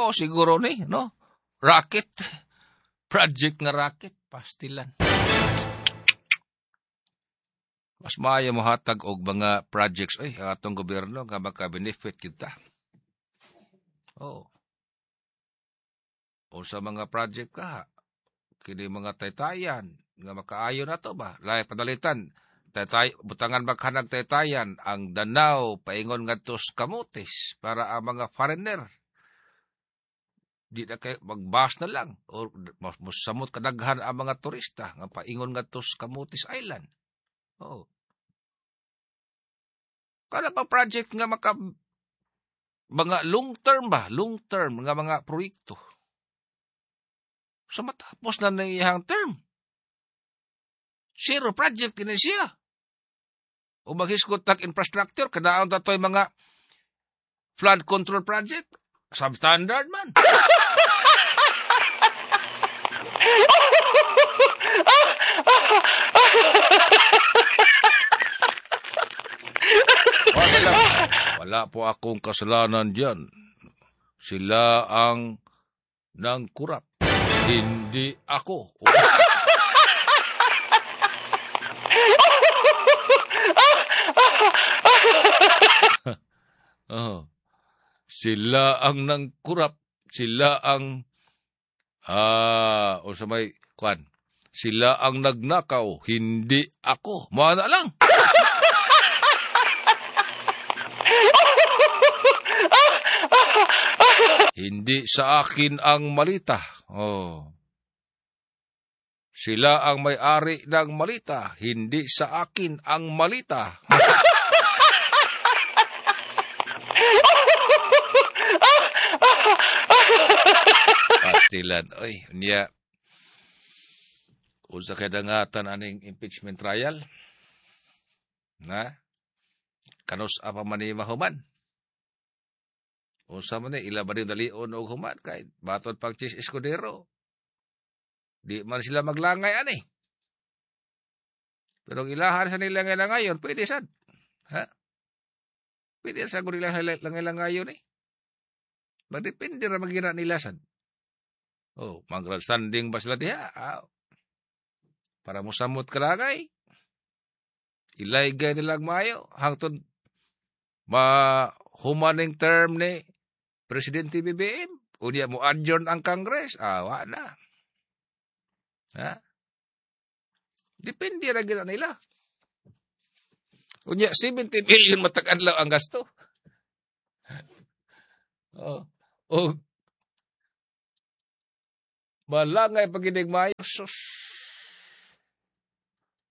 Mao siguro ni, no? Racket. Project nga racket. Pastilan. Mas maayo mohatag og mga projects ay atong gobyerno nga maka-benefit kita. Oh. O sa mga project ka, kini mga taytayan nga makaayo na to ba? Lahi padalitan, taytay, butangan maghanag taytayan ang Danao paingon ngadto sa Camotes para ang mga foreigner di na kay magbas na lang o mosamot kadaghan ang mga turista nga paingon ngadto sa Camotes Island. Oh. Kada pa project nga maka mga long term ba, long term nga mga proyekto. So matapos na ng iyang term. Zero project kini siya. O maghisgot tag infrastructure, kadaon ta to'y mga flood control project, substandard man. Wala, wala po akong kasalanan diyan. Sila ang nangkurap. Hindi ako. Oh. Sila ang nangkurap. Sila ang o sa may kwan. Sila ang nagnakaw, hindi ako. Mana lang. Hindi sa akin ang malita. Oh. Sila ang may-ari ng malita, hindi sa akin ang malita. Pastilan. Oy, niya. Unsa kay dangatan aning impeachment trial? Na? Kanus apa man ni mahuman? Unsa man ni ila ba rin dalion og human kay batod pag Chis Escudero. Di man sila maglangay ani. Pero ang ilahan sa nila ngayon, pwede sad. Ha? Pwede sa nila langay-langayon eh. Magdepende ra magira nila sad. Oh, mag-grandstanding ba sila diha? Ah, para mosamot kalagay. Ilaygay nila maayo hangtod mahumaning term ni Presidente BBM. Unya mo adjourn ang Congress. Ah, wa na. Ha? Depende ra gid nila. Unya 70 million matag adlaw ang gasto. Oh. O malangay paginig maayo. Sus.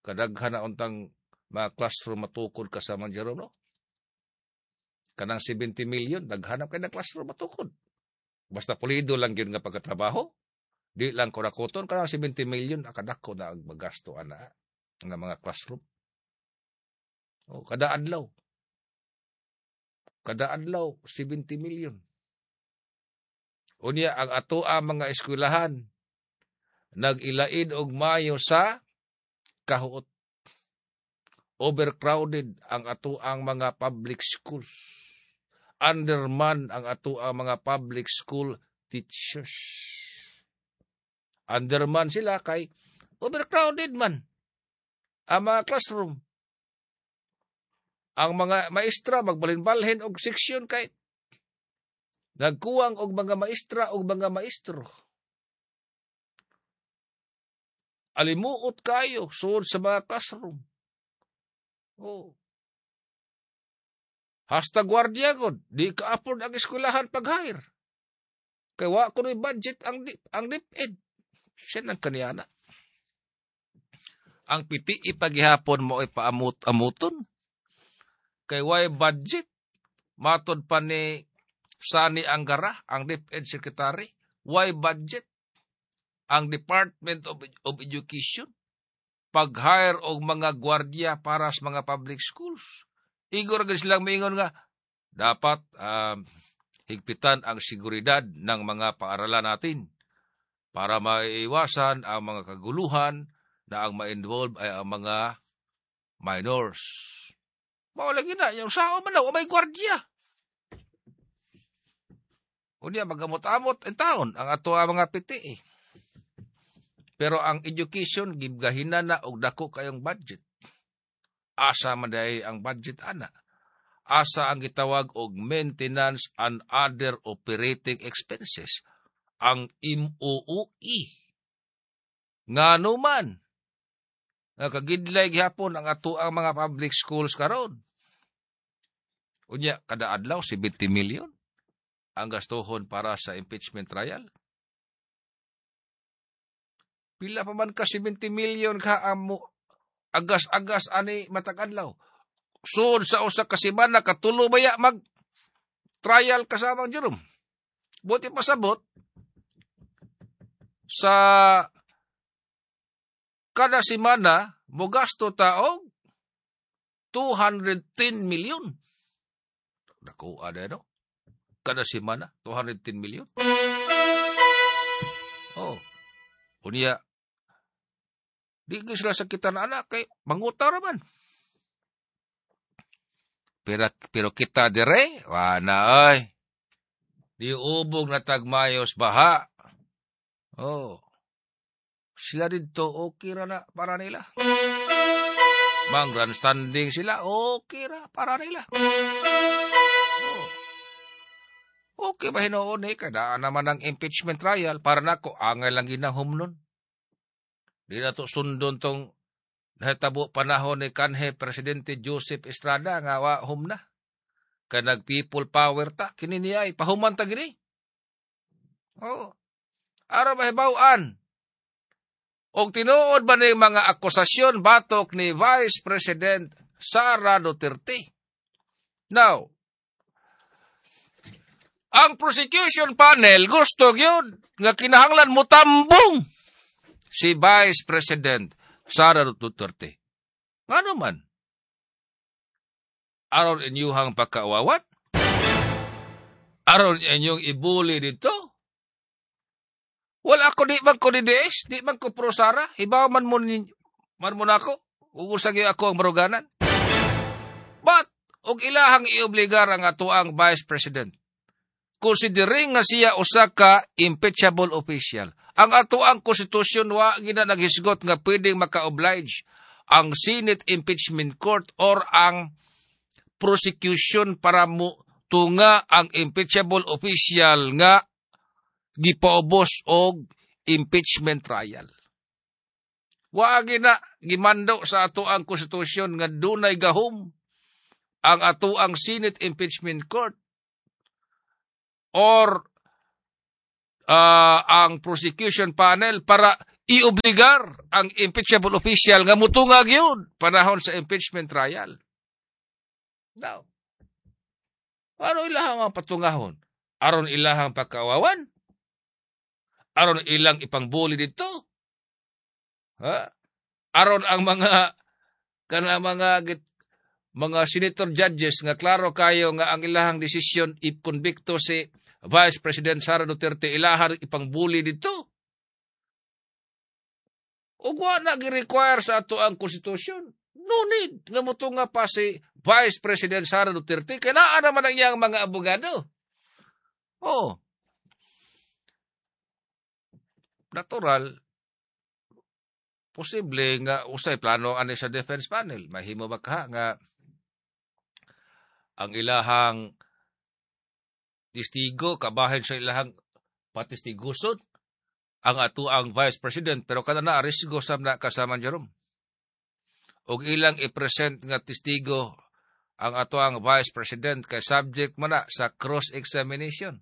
Kadaghan na untang mga classroom matukod kasama Jerome, no? Kanang 70 million, daghanap kay ng classroom matukod. Basta pulido lang yun nga pagkatrabaho. Di lang kurakoton, kanang 70 million, akadako na ang magasto ana nga mga classroom. O, kada adlaw. Kada adlaw, 70 million. Unya, ang atoa mga eskwelahan, nag-ilaid og mayo sa kahuot. Overcrowded ang atoang mga public schools. Underman ang atoang mga public school teachers. Underman sila kay overcrowded man ang mga classroom. Ang mga maestra magbalhin-balhin og seksyon kay nagkuwang og mga maestra og mga maestro. Alimuot kayo suod sa mga classroom. Oh. Hasta gwardiya god, di ka-afford ang eskwelahan pag-hire. Kay wa kunoy budget ang DepEd. Siya nang kaniyana. Ang piti ipagihapon mo ay paamot-amuton. Kay way budget, matod pa ni Sani Angara, ang DepEd Secretary, why budget ang Department of Education pag-hire og mga gwardiya para sa mga public schools. Igor gid silang miingon nga dapat higpitan ang seguridad ng mga paaralan natin para maiwasan ang mga kaguluhan na ang ma-involve ay ang mga minors. Mao lagi na, yung sao man daw, may gwardiya. Unya magamot-amot in taon ang ato ang mga PTA. Pero ang education gibgahina na og dako kayong budget. Asa man diay ang budget ana? Asa ang gitawag og maintenance and other operating expenses, ang MOOE? Ngano man nga kagidlay gihapon ang ato ang mga public schools karon? Unya kada adlaw 70 million ang gastuhon para sa impeachment trial. Pila pa man ka 70 million ka amo agas-agas ani matag adlaw? Sud sa usa ka semana, katulo baya mag trial kasamang Jerome? Buti pasabot sa kada semana mogasto ta og 210 million. Dako ada, no? Kada semana 210 million. Oh. Unya di gyud sila sakitan ana kay mangutang raman. Pero kita dire, wana ay. Di ubog na tagmayos baha. Oh. Sila dito, okay ra na para nila. Mang grandstanding sila, okay ra para nila. Oh. Okay ba hinuon eh, kada naman ang impeachment trial, para nako, angay lang ginahumnon. Di na to sundon tong nahitabo panahon ni kanhi Presidente Joseph Estrada nga wa humna. Kay nag people power ta, kini niya ay pahuman ta gini. Oh. Aron mahibaw-an og tinuod ba ni mga akusasyon batok ni Vice President Sara Duterte. Now, ang prosecution panel gusto gyud nga kinahanglan mo tambong si Vice President Sara Duterte. Ngano man? Aron inyuhang pagkaawawan? Aron inyong ibuli dito? Wala ako, di man ko DDS, di man ko pro Sara, hibaw man mo, man mo nako, ug gyud ako ang baruganan. But, og ilahang iobligar ang atoang Vice President, considering nga siya usa ka impeachable official, ang atoang konstitusyon wa gina naghisgot nga pwedeng maka-oblige ang Senate Impeachment Court or ang prosecution para mo tunga ang impeachable official nga gipaubos og impeachment trial. Wa na gimando sa atoang konstitusyon nga dunay gahom ang atoang Senate Impeachment Court or ang prosecution panel para iobligar ang impeachable official nga mutungag yun panahon sa impeachment trial. Now, ano ilahang ang patungahon? Aron ilahang pagkawawan? Aron ilang ipangbuli dito? Ha? Aron ang mga kana mga senator judges nga klaro kayo nga ang ilahang desisyon i-convicto si Vice President Sara Duterte, ilahang ipangbuli dito? Ug wa na gi-require sa ato ang konstitusyon. No need nga motunga pa si Vice President Sara Duterte kay naa naman ang iyang mga abogado. Oh. Natural, posible nga usay plano ani sa defense panel. Mahimo ba ka nga ang ilahang testigo kabahin sa ilahang patestiguson ang ato ang Vice President, pero kada na risgo sab na, kasama Jerome, og ilang i-present nga testigo ang ato ang Vice President kay subject man na sa cross-examination.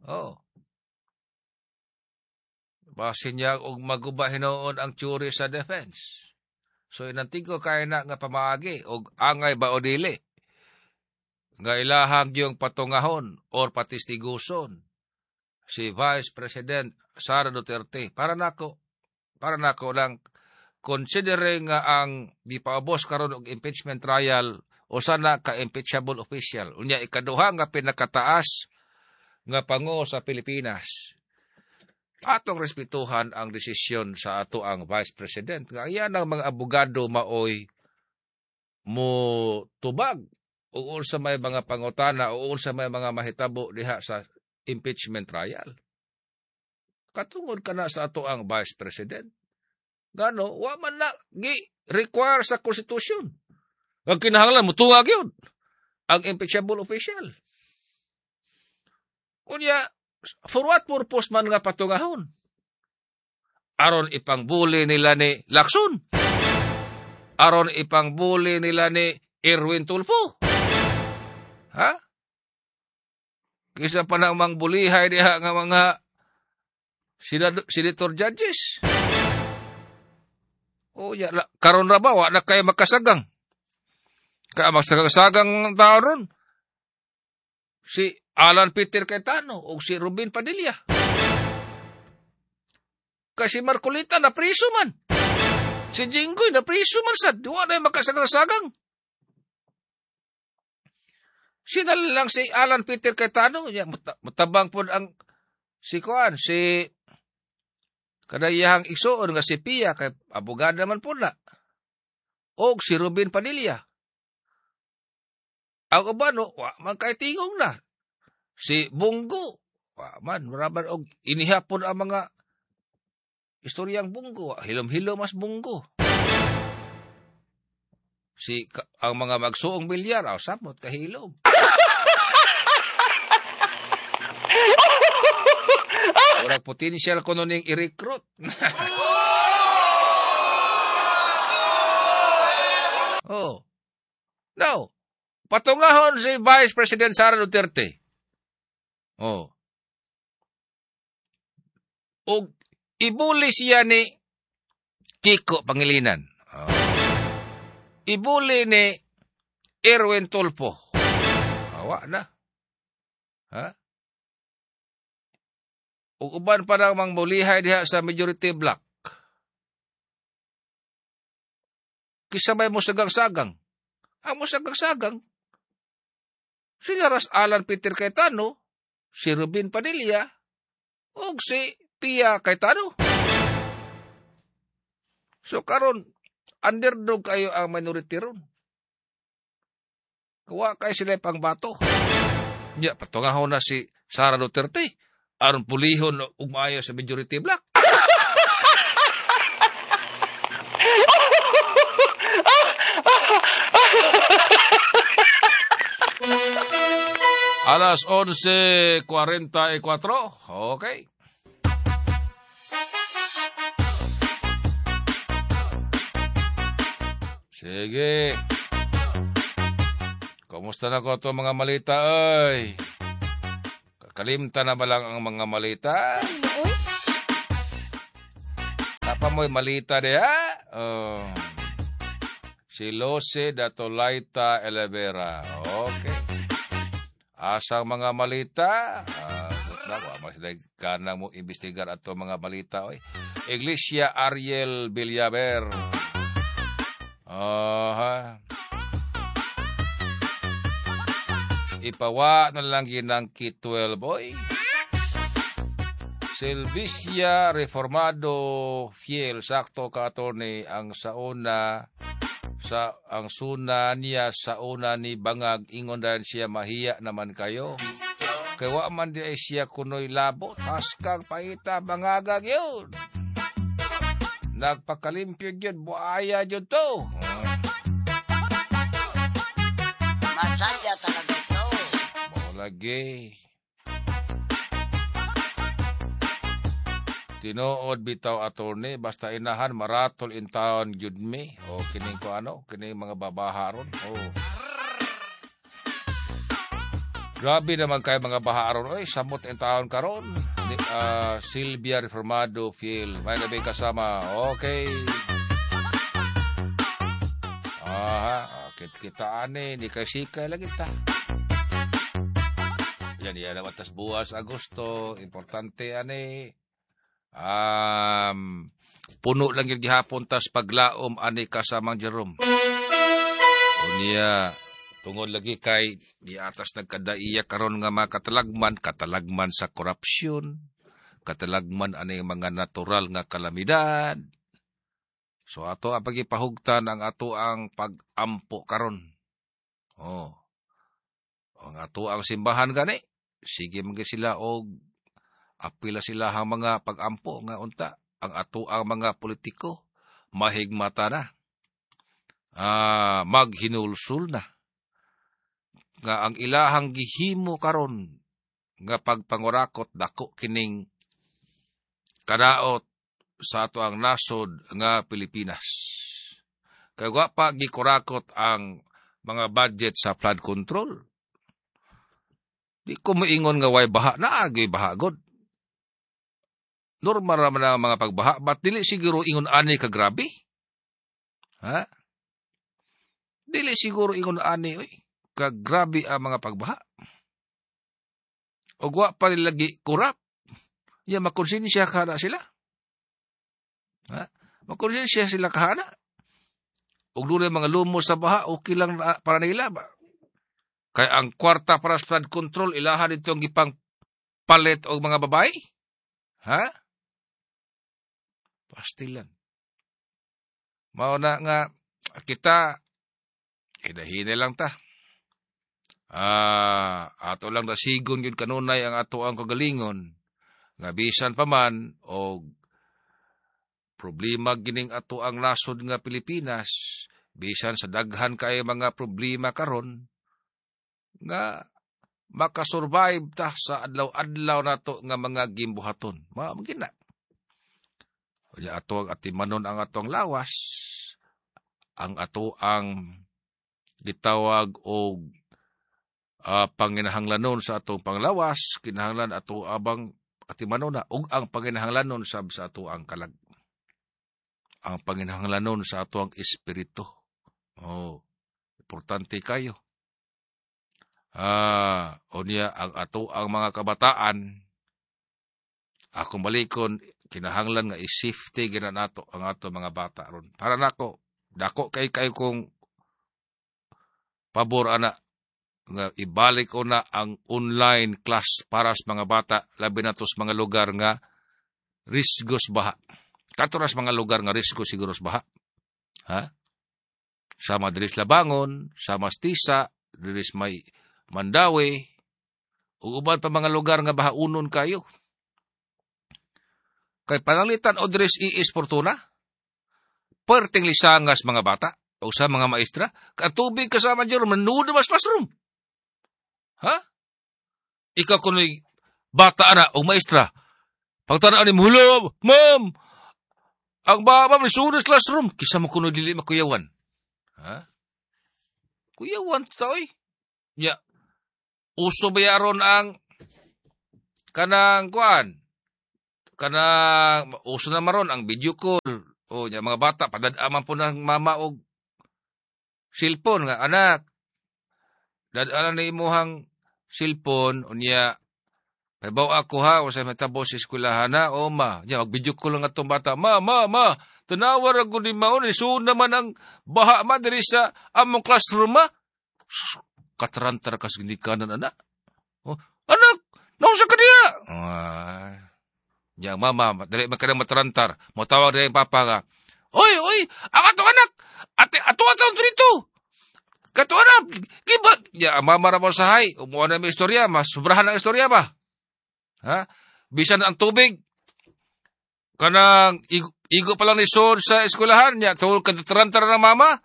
Oh. Basin niya og maguba hinuon ang theory sa defense. So inantigo kay na nga pamaagi og angay ba o dili nga ilahang yung patungahon or patestiguson si Vice President Sara Duterte. Para nako lang, considering nga ang gipaubos karon og impeachment trial usa na ka impeachable official, unya ikaduha nga pinakataas nga pango sa Pilipinas, atong respetuhan ang desisyon sa ato ang Vice President nga iyan ang mga abogado maoy mo tubag o unsa may mga pangutana o unsa may mga mahitabo diha sa impeachment trial. Katungod ka na sa ato ang Vice President. Gano, wa man na gi-require sa konstitusyon. Ang kinahanglan, mutuwag yun ang impeachable official. Kunya, for what purpose man nga patungahon? Aron ipangbuli nila ni Lacson. Aron ipangbuli nila ni Erwin Tulfo. Ha? Kisa pa nang mangbulihay diha nga mga senator judges. O ya, karon ra ba wa na kay makasagang? Kaya magsagang-sagang tao ron. Si Alan Peter Cayetano o si Ruben Padilla. Kasi Marcolita na priso man. Si Jinggoy na priso man sad. Wa na makasagang-sagang. Sila lang si Alan Peter Cayetano. Ya, mutabang po ang si Kuan, si kanayahang igsuon nga si Pia, kay abogada man po na. O si Ruben Padilla. Ang ubano, wa man kay tingog na. Si Bungo, wa man, maraban og inihapon ang mga istoryang Bungo. Hilom-hilom mas Bungo. Si ang mga magsuong bilyar, aw samot kahilom. Murag potential kuno ning i-recruit. Oh. No. Patungahon si Vice President Sara Duterte. Oh. Og ibuli siya ni Kiko Pangilinan. Oh. Ibuli ni Erwin Tulfo. Awa na. Ha? Ug uban pa nang mangbulihay diha sa majority block. Kisa may musagang-sagang. Ang musagang-sagang, sila ras Alan Peter Cayetano, si Ruben Padilla, ug si Pia Cayetano. So karon underdog kayo ang minority ron. Kuha kayo sila pang bato. Nya, patungahon na si Sara Duterte aron pulihon ug maayo sa majority block. Alas 11:44. Okay. Sige. Kumusta na ko ito mga malita ay? Kalimta na ba lang ang mga malita? Napa mo'y malita diha? Oh. Si Lose Datolaita Elevera. Okay. Asang mga malita? Kanang mo imbestigar ato mga malita. Oy. Iglesia Ariel Villaver. Aha. Ipawa na lang ginang K-12, oy. Silvicia Reformado Fiel, sakto ka attorney, ang sauna sa ang suna niya sa una ni Bangag, ingon dahil siya mahiya naman kayo. Kay wa man di ay siya kunoy labo, taskang paita bangagag yun. Nagpakalimpyo yun, buaya yun to. Masaya talaga ito. Lagi. Tinuod bitaw attorney, basta inahan maratol in town gyud mi. O kining ko ano, kining mga babaha ron. Oh. Grabe naman kay mga baha ron. Oy, samot in town karon. Silvia Reformado Fiel. May gabi kasama. Okay. Aha, kita ani, di kay sikay lagi ta. Yan, yan naman tas buwas Agosto, importante ani. Puno lang yung gihapon tas paglaom ani kasamang Jerome. Unya, tungod lagi kay di atas nagkadaiya karon nga mga katalagman, katalagman sa korupsyon, katalagman ani mga natural nga kalamidad. So ato ang pagipahugtan ang ato ang pagampo karon. Oh. Ang ato ang simbahan gani, Sige man sila og apila sila ang mga pagampo nga unta ang ato ang mga politiko mahigmata na. Maghinulsul na. Nga ang ilahang gihimo karon nga pagpangurakot dako kining kadaot sa ato ang nasod nga Pilipinas. Kay wa pa gikurakot ang mga budget sa flood control. Di ko moingon nga way baha, naagay baha god. Normal ra man ang mga pagbaha, but dili siguro ingon ani ka grabe. Ha? Dili siguro ingon ani oy, ka grabe ang mga pagbaha. Og wa pa lagi kurap. Ya makonsensya ka na sila. Ha? Makonsensya sila kahana. Og dunay mga lumos sa baha, okay lang na, para nila ba? Kay ang kwarta para sa flood control, ilahan itong gipang palit og mga babae? Ha? Pastilan. Mao na nga kita hinahinay lang ta. Ato lang nasigon gyud kanunay ang ato ang kagalingon nga bisan pa man og problema gining ato ang nasod nga Pilipinas, bisan sa daghan kay mga problema karon nga makasurvive ta sa adlaw-adlaw nato nga mga gimbuhaton. Mao man gina. Unya ato ang atimanon ang atong lawas, ang ato ang gitawag og panginahanglanon sa atong panglawas, kinahanglan ato abang atimanon na ug ang panginahanglanon sab sa ato ang kalag. Ang panginahanglanon sa ato ang espiritu. Oh, importante kayo. Unya ang ato ang mga kabataan, akong balikon, kinahanglan nga i-safety gina nato ang ato mga bata ron. Para nako, dako kay kayo kong pabor ana nga ibalik ko na ang online class para sa mga bata, labi na to sa mga lugar nga risgos baha. Kato na sa mga lugar nga risgo siguro sa baha. Ha? Sa Madris Labangon, sa Mastisa, diris may Mandawi, ug uban pa mga lugar nga bahaunon kayo. Kay pananglitan o diris iis Fortuna, perting lisangas mga bata o sa mga maestra, katubig kasama dyan, manudo mas classroom. Ha? Ikaw kuno'y bata ana o maestra, pagtanaan ni mo, "Hala, ma'am, ang baba may sunod classroom." Kisa mo kuno dili makuyawan. Ha? Kuyawan ta oy. Ya. Uso ba yaron ang kanang kuan? Kanang uso na maron ang video call. O nya mga bata padad-aman po ng mama og cellphone nga anak. Dad-anan na imuhang cellphone unya pahibaw ako ha, o sa matabo sa eskwelahan na, o ma, nya mag-video call lang atong bata. Ma, ma, ma, tanawa ra gud ni maon, isuod naman ang baha ma diri sa among classroom ma. Katarantar kas ginikanan anak. Oh, anak, naunsa ka diya? Nya mama, dali man ka na matarantar. Motawag diri ang papa nga. Oy, oy, ang atong anak, ate, ato atong dito. Kato anak, giba. Ya, mama ra mo sahay. Umuha na may istorya, mas sobrahan ang istorya ba? Ha? Bisan ang tubig, kanang igo, igo pa lang ni Sol sa eskwelahan niya, tungod katarantar ng mama,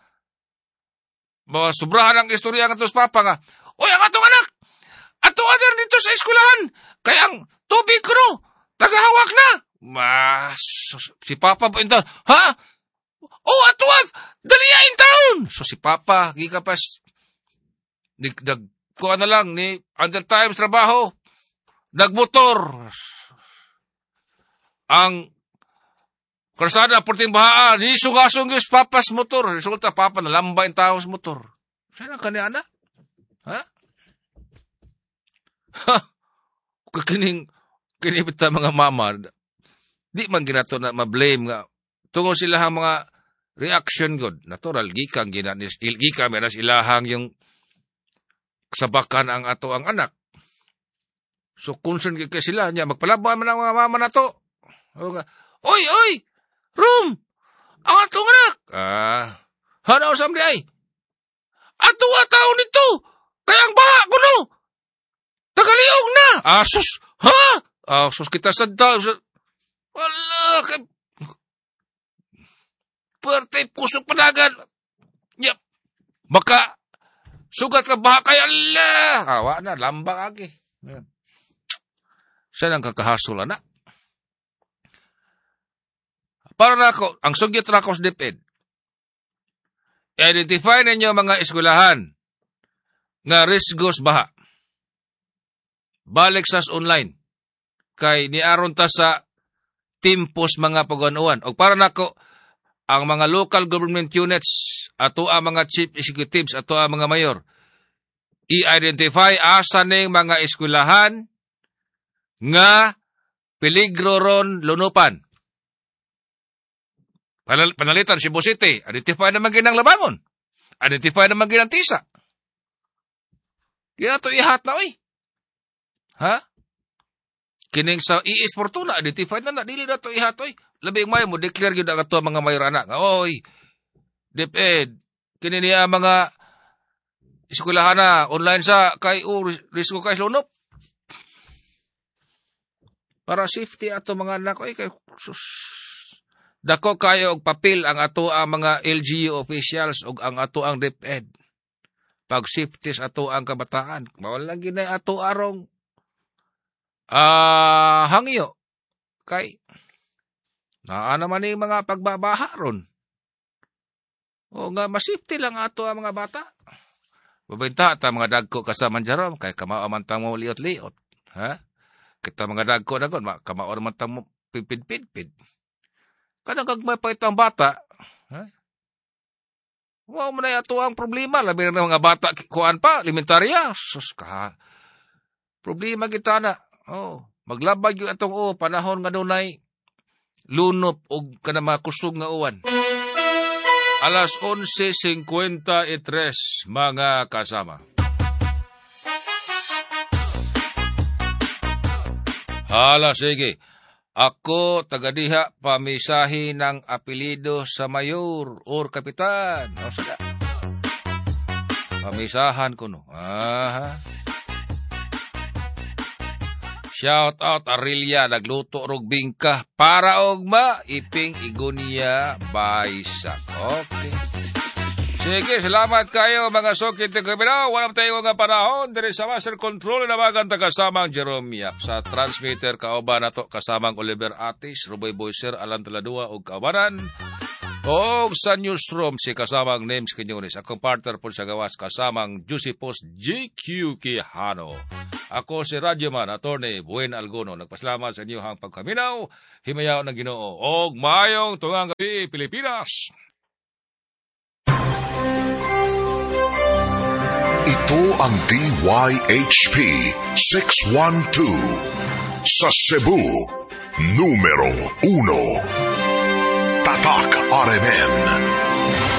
ba, sobrahan ang istorya nga tos papa nga, "Oy, ang atong anak, ato ader dito sa eskwelahan, kay ang tubig ko no, tagahawak na." Mas, si papa pa intawn, "Ha? Oh, ato at, dali in town." So si papa, gikapas, nag, kuha na lang ni under times trabaho, nagmotor. Ang kalsada, porting bahaan, ni sugasong gyud papas motor. Resulta, papa, nalamba yung tao sa motor. Saan ka ni anak? Ha? Ha? Kining, kinipit ta mga mama, di man ginato na ma-blame nga, tungod sila ang mga reaction god. Natural, gikan, gina, gikan, meron ilahang yung sabakan ang ato ang anak. So, concern kay sila niya, magpalaban man ang mga mama na to. Oy, oy! Room! Ang atong anak! Hanaw sa ay! Ato taon nito! Kaya ang baha kuno! Tagaliog na! Ha? Asus! Ha? Asus kita sa wala! Kay... Perte, kusog panagan! Yep. Maka, sugat ka ba kay Allah? Awa na, lambang agi. Siya nang kakahasol, anak. Para na ako, ang sugyot na ako sa DepEd, identify ninyo mga eskwelahan nga risgos baha. Balik sas online. Kay niaron ta sa timpos mga pag-anuan. O para nako, ang mga local government units, ato ang mga chief executives, ato ang mga mayor, i-identify asa ning mga eskwelahan nga peligro ron lunupan. Panalitan, Cebu City, identify naman ginang Labangon. Identify naman ginang Tisa. Di na ito ihat na, oy. Ha? Kining sa IS Fortuna, identify na na, dili na ito ihat, oy. Labing may mo, declare yun ang ato mga mayor anak. Oy, DepEd, kini niya mga eskwelahan na, online sa, kay, risgo kay lunop. Para safety ato mga anak, oy, kay, sus. Dako kayo og papel ang ato ang mga LGU officials og ang ato ang DepEd. Pag safety sa ato ang kabataan, mawala ginay ato arong hangyo. Kay naa naman yung mga pagbabaha ron. O nga masafety lang ato ang mga bata. Babenta ta mga dagko kasama Jerome kay kamao man tang mo liot-liot, ha? Kita mga dagko dagon kamao man tang mo pipid-pid. Kanang gagmay pa itong bata, ha? Wow, man ay ato ang problema. Labi na mga bata, kuan pa, elementarya. Sus ka. Problema kita na. Oh, maglabag yung atong panahon nga dunay lunop og kanang mga kusog nga uwan. Alas 11:53, mga kasama. Hala, sige. Ako, tagadiha, pamisahi ng apelido sa mayor or kapitan. O, sada. Pamisahan ko, no. Aha. Shout out, Arilia, nagluto rog bingka para ogma, iping igunya, baisak. Okay. Sige, salamat kayo mga sokit ng kabila. Walang tayo nga panahon. Diri sa Master Control na magang tagasamang Jerome Yap. Sa transmitter, kauban nato kasamang Oliver Atis, Ruboy Boyser, Alan Taladua o kaubanan. O sa newsroom, si kasamang Names Quiñones. Akong partner po sa gawas, kasamang Juicy Post GQ Quijano. Ako si Radyoman, Attorney Buen Alguno. Nagpasalamat sa inyong pagkaminaw. Himayaw ng Ginoo. Og maayong tungang gabi, Pilipinas! Ito ang DYHP 612 sa Cebu, numero 1. Tatak RMN.